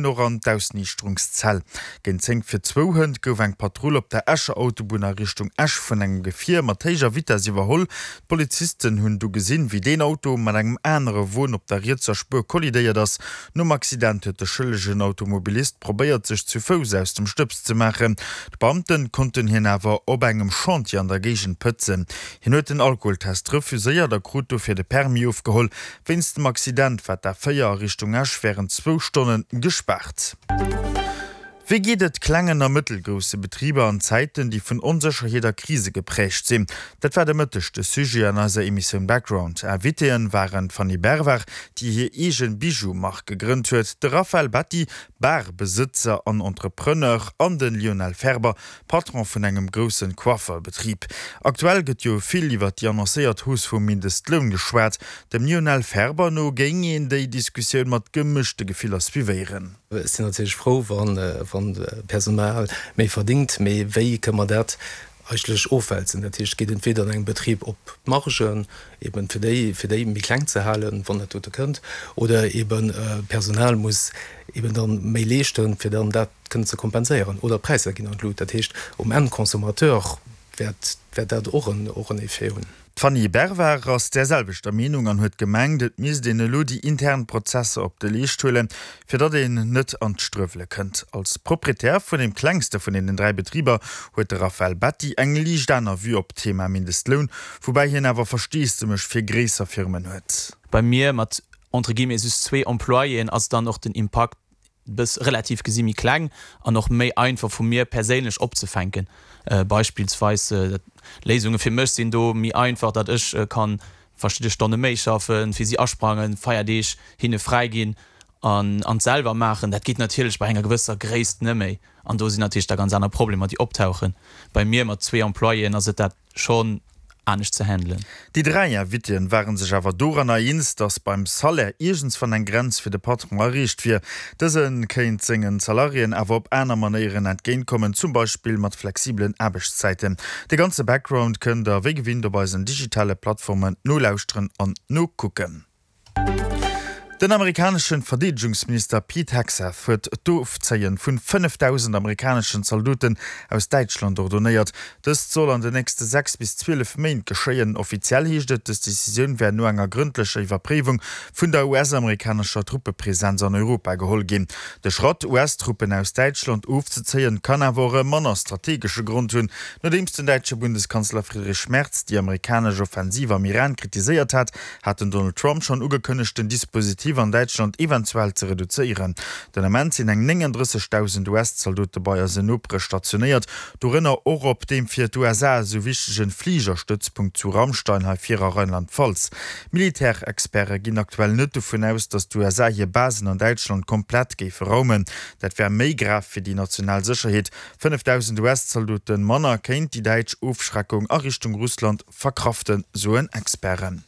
Och an d'Ausniichterungszell. Géint 10 vir zwou hënt gouf eng Patrull op der Escher Autobunn a Richtung Esch vun engem Gefier mat héijer Vitess iwwerholl. D'Polizisten hunn du gesinn, wéi deen Auto mat engem anere Won op der rietser Spuer kollidéiert ass. Nom Accident huet de schëllegen Automobilist probéiert, sech zu Fouss aus dem Stëbs ze maachen. D'Beamte konnten hien awer op engem Chantier an der Géigend pëtzen. Hien huet den Alkoholtest refuséiert a krut dofir de Permis ofgeholl. Wéinst dem Accident war d'A4 a Richtung Esch wärend zwou Stonne gespaart. Wéi geet et klengen a mëttelgrousse Betriber an Zäiten, déi vun Onsécherheet a Krise gepräägt sinn? Dat war de Mëtteg de Sujet an eiser Emissioun Background. Invitéen waren d'Fanny Bervard, déi hir eegen Bijou-Mark gegrënnt huet, de Raphaël Betti, Bar-Besëtzer an Entrepreneur, an de Lionel Ferber, Patron vun engem groussen Coifferbetrib. Aktuell gëtt jo vill iwwer déi annoncéiert Hausse vum Mindestloun geschwat. Dem Lionel Ferber no géing een déi Diskussioun mat gemëschte Gefiller suivéieren. Ech sinn natierlech frou, wann d'Personal méi verdingt, mee wéi kënne mer dat eigentlech ofwälzen? Dat heescht, et geet entweder an engem Betrib op d'Margen, eben fir déi, fir déi méi kleng ze halen, wann dat dote kënnt, oder eben d'Personal muss eben dann méi leeschten, fir dann dat kënnen ze kompenséieren, oder d'Präisser ginn an d'Lut. Dat heescht, um Enn Consommateur wäert dat och en Effet hunn. D'Fanny Bervard ass där selwechter Meenung an huet gemengt, et misst een elo déi intern Prozesser op de Leescht huelen, fir datt een net an d'Struewele kënnt. Als Proprietär vun deem klengste vun deenen 3 Betriber huet de Raphaël Betti eng liicht aner Vue op d'Thema Mindestloun, woubäi hien awer Versteesdemech fir gréisser Firmen huet. Bei mir mat entre guillemets just zwee Employéen ass dann och den Impakt bëss relativ gesi méi kleng an och méi einfach vu mir perséinlech opzefänken. Beispillsweis Léisunge fir mech sinn do méi einfach, datt ech kann verschidde Stonne méi schaffen, fir si asprangen, Feierdeeg hinne fräi ginn an an d'selwer maachen. Dat geet natierlech bei enger gewësser Gréisst net méi an do sinn natierlech da ganz aner Problemer déi optauchen. Bei mir mat zwee Employéen ass et dat schonn anescht ze handelen. Déi 3 Invitéen ware sech awer doranner eens, datt beim Salaire iergendswann eng Grenz fir de Patron erreecht wier. Dëse kéint sengen Salariéen awer op aner Manéieren entgéintkommen, zum Beispill mat flexibelen Aarbechtszäiten. De ganze Background kënnt der wéi gewinnt op eisen digitale Plattformen nolauschteren an nokucken. Den amerikaneschen Verdeedegungsminister Pete Hegseth huet d'Ofzéien vun 5.000 amerikaneschen Zaldoten aus Däitschland ordonéiert. Dëst soll an de nächste 6 bis 12 Méint geschéien. Offiziell heescht et, dës Decisioun wär no enger grëndlecher Iwwerpréiwung vun der US-amerikanescher Truppepresenz an Europa geholl ginn. De Schratt, US-Truppen aus Däitschland ofzezéien, kann awer och e manner strategesche Grond hunn. Nodeems den däitsche Bundeskanzler Friedrich Merz déi amerikanesch Offensiv am Iran kritiséiert hat, hat den Donald Trump schonn ugekënnegt, den Dispositif an Däitschland eventuell ze reduzéieren. Den Ament sinn eng 39.000 US-Zaldote bei eisen Nopere stationéiert, dorënner och op deem fir d'USA esou wichtegen Fligerstëtzpunkt zu Ramstein hei vir a Rheinland-Pfalz. Militärexperte ginn aktuell net dovun aus, datt d'USA hir Basen an Däitschland komplett géife raumen. Dat wär méi grav fir déi national Sécherheet. 5.000 US-Zaldote manner kéint déi däitsch Ofschreckung a Richtung Russland Verkraften, soen Experten.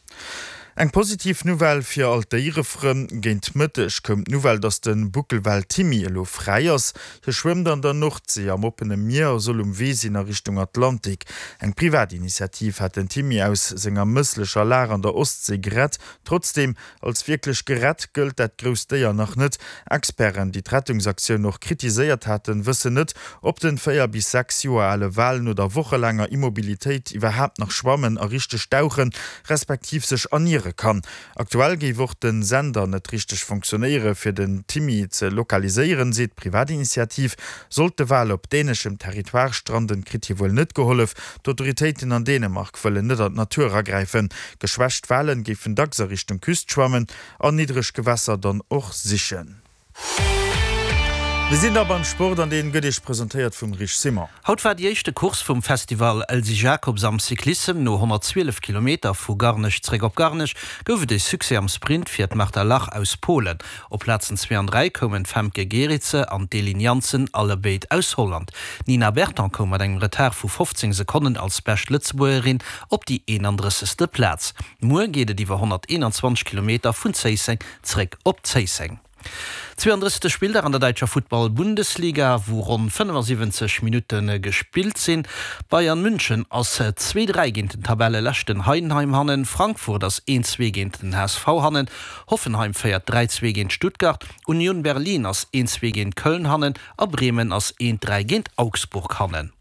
Eng positiv Nouvelle fir all d'Déierefrënn, Géint Mëtteg koum d'Nouvelle, dass de Buckelwal Timmy elo fräi ass. Hie schwëmmt an der Nordsee am oppene Mier a soll um Wee sinn a Richtung Atlantik. Eng privat Initiativ hat den Timmy aus senger mësslecher Lag an der Ostsee gerett. Trotzdeem, Als wierklech gerett gëllt dat grousst Déier nach net. Experten, déi d'Rettungsaktioun och kritiséiert haten, wëssen net, ob den 4 bis 6 Joer ale Wal no der wochelaanger Immobilitéit iwwerhaapt nach schwammen a richteg dauchen, respektiv sech erniere kann. Aktuell géif och den Sender net richteg fonctionnéiere fir den Timmy ze lokaliséieren, seet d'Privatinitiativ. Sollt de Wal op däneschem Territoire stranden, kritt hie wuel net gehollef. D'Autoritéiten an Dänemark wëllen net an d'Natur agräifen. Geschwächt Walen géifen dacks a Richtung Küst schwammen an niddreg Gewässer dann och sichen. Mir sinn da beim Sport an deen gëtt Iech presentéiert vum Rich Simon. Haut war déi éischte Course vum Festival Elsy Jacobs am Cyclissem. No 112 Kilometer vu Garnech zréck op Garnech gouf et e Succès am Sprint fir d'Marta Lach aus Polen. Op Plazen zwee an 3 koumen d'Femke Gerritse an d'Eline Jansen, allebéid aus Holland. D'Nina Berton koum mat engem Retard vu 15 Sekonnen als bescht Lëtzebuergerin op déi 31. Plaz. Muer geet et iwwer 121 Kilometer vun Zéisseng zréck op Zéisseng. 32. Spilldag an der däitscher Futtball-Bundesliga, wou ronn 75 Minutte gespillt sinn. Bayern München ass 2, 3 géint den Tabelleleschten Heidenheim hannen, Frankfurt ass 1, 2 géint den HSV hannen, Hoffenheim féiert 3, 2 géint Stuttgart, Union Berlin ass 1, 2 géint Köln hannen a Bremen ass 1, 3 géint Augsburg hannen.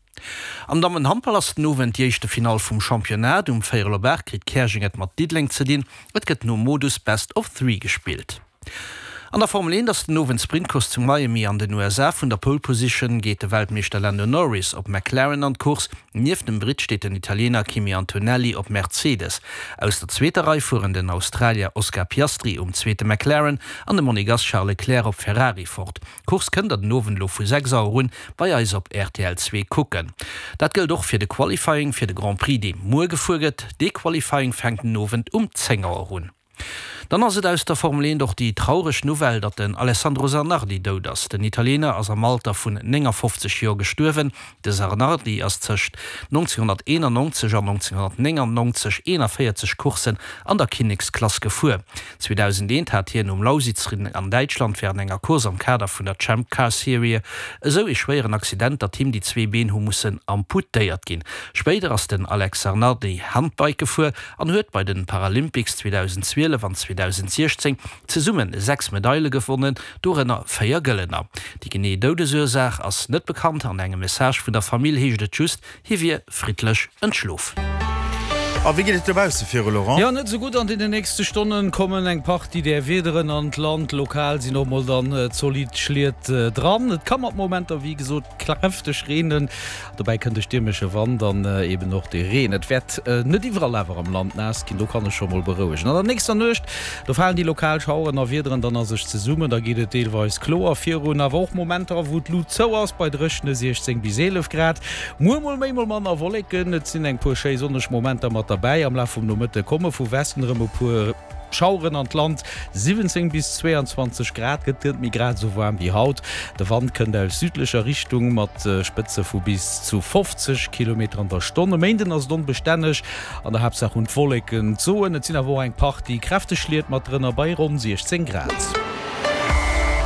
Am Dammenhandball ass den Owend déi éischte Finall vum Championnat. Um véierel op 8 kritt Käerjeng et mat Diddeleng ze dinn. Et gëtt nom Modus Best of Three gespillt. An der Formel 1 ass den Owend d'Sprintcourse zu Miami an den USA. Vun der Pole Position geet de Weltmeeschter Lando Norris op McLaren an d'Course. Nieft dem Britt steet den Italiener Kimi Antonelli op Mercedes. Aus der zweeter Rei fueren den Australier Oscar Piastri um zweete McLaren an de Monegass Charles Leclerc op Ferrari fort. D'Course kënnt der den Owend elo vu 6 Auer un bei eis op rtl 2 kucken. Dat gëllt och fir de Qualifying fir de Grand Prix dee muer gefuer gëtt. Dee Qualifying fänkt den Owend um 10 Auer un. Dann ass et aus der Formel 1 och déi traureg Nouvelle, datt den Alessandro Zanardi dout ass. Den Italiener ass am Alter vun 59 Joer gestuerwen. De Zanardi ass tëscht 1991 an 1999 41 Courssen an der Kinneksklass gefuer. 2001 hat hien um Lausitzring an Däitschland wärend enger Course am Kader vun der Champ Car Serie esou ee schwéieren Accident, datt him déi zwee Been hu mussen amputéiert ginn. Spéider ass den Alex Zanardi Handbike gefuer an huet bei den Paralympics 2012 an 2016 zesumme 6 Medaile gewonnen, dorënner 4 gëllener. Déi genee Doudesursaach ass net bekannt. An engem Message vun der Famill heescht et just, Hie wier friddlech entschlof. A wéi geet et dobausse viru, Laurent? Jo, net esou gutt. An deenen nächste Stonne kommen eng Partie där Wiederen an d'Land. Lokal sinn och mol dann zolidd Schliet dran. Et ka mat Momenter wéi gesot kräfteg reenen. Dobäi kënnt e stiermesche Wand an eben och de Reen. Et wäert net iwwerall awer am Land naass ginn, do kann ech scho mol berouegen. An der nächster Nuecht, do falen déi lokal Schaueren a Wiederen dann a sech zesummen. Da geet et deelweis kloer virun, awer och Momenter, wou d'Lut zou ass, bei dréchene 16 bis 11 Grad. Muer mol méi, mol manner Wolleken, et sinn eng puer schéi sonneg Momenter mat derbäi. Am Laf vum Nomëtte komme vu Westen erëm e puer Schaueren an d'Land, 17 bis 22 Grad, gëtt net méi grad esou waarm wéi haut. De Wand kënnt aus südlecher Richtung mat Spëtze vu bis zu 50 Kilometer an der Stonn. E Méinden ass et onbestänneg, an der Haaptsaach hunn d'Wolleken d'Soen, et sinn awer och eng Partie kräfteg Schliet mat drënner bei ronn 16 Grad.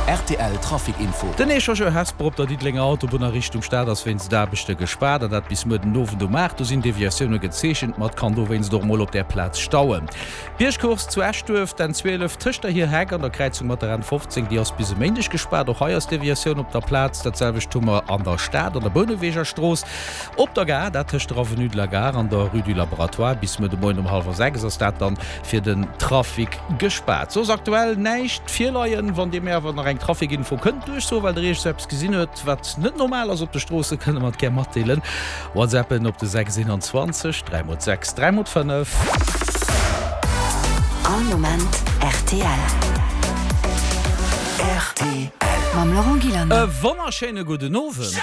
Rtl Trafic Info. Den Echangeur Hesper op der Diddelenger Autobunn a Richtung Stad ass wéinst Aarbechte gespaart, an dat bis muer den Owend um 8. Do sinn Deviatioune gezeechent, ma et kann dowéinst och mol op där Plaz stauen. D'Biergcourse zu Eschduerf, d'N 12 tëscht der Hierheck an der Kräizung mat der N 15, déi ass bis e Méindeg gespaart. Och hei ass Deviatioun op der Plaz. Dat selwecht hu mer an der Stad an der Bouneweger Strooss. Op der Gare, dat tëscht der Avenue de la Gare an der Rue du Laboratoire. Bis muer de Moien um hallwer 6 ass dat dann fir den Trafic gespaart. Soss aktuell näischt virleien. Wann Dir mir awer nach eng Trafic-Info kënnt duerchsoen, well Der iergend sou eppes gesinn huet, wat net normal ass op de Stroossen, kënnt Der mer et gär matdeelen. WhatsAppen op de 6 21 3 mol 6 3 mol 5. All Moment rtl. Rtl. Mam Laurent Gillander. E wonnerschéine gudden Owend.